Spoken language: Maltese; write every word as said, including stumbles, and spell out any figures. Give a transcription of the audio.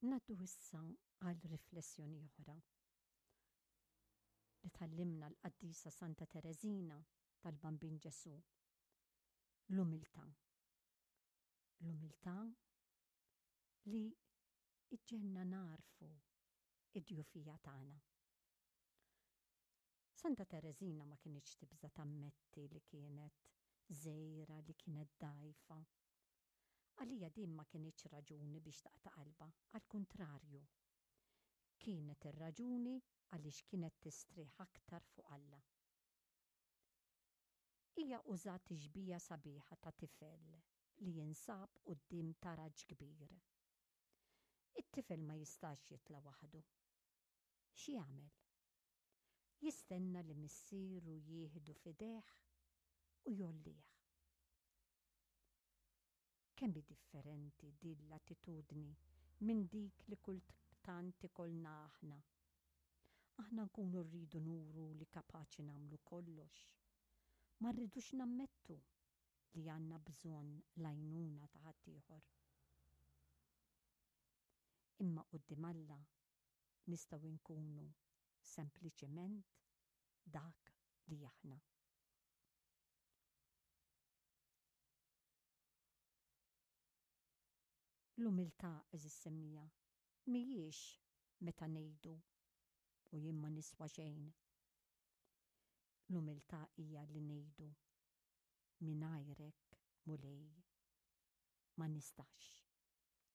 Ngħaddu issa għal riflessjoni oħra li tgħallimna l-qaddisa Santa Tereżina tal-Bambin Ġesù. L-umiltà. L-umiltà li iġġenna narfu id-djufija tagħna. Santa Tereżina ma kinitx tibża tammetti li kienet żgħira, li kienet dgħajfa. Għalija din ma kinitx raġuni biex taqta' qalbha, għall-kuntrarju. Kienet ir-raġuni għaliex kienet tistrieħ aktar fuq Alla. Hija użat tixbija sabiħa ta' tifel li jinsab quddiem taraġ kbir. It-tifel ma jistax jitla' waħdu. X'jagħmel? Jistenna li missieru jieħdu f'idejh u jgħollih. Kemm hi differenti din l-attitudni minn dik li kultant ikollna aħna. Aħna nkunu rridu nuru li kapaċi nagħmlu kollox. Ma rridux nammettu li għandna bżonn l-għajnuna ta' ħaddieħor. Imma quddiem Alla nistgħu nkunu sempliċement dak li aħna. L-umiltà, għeżież semmiegħa, mhijiex meta ngħidu u jien ma niswa xejn. L-umiltà hija li ngħidu mingħajrek Mulej ma nistax.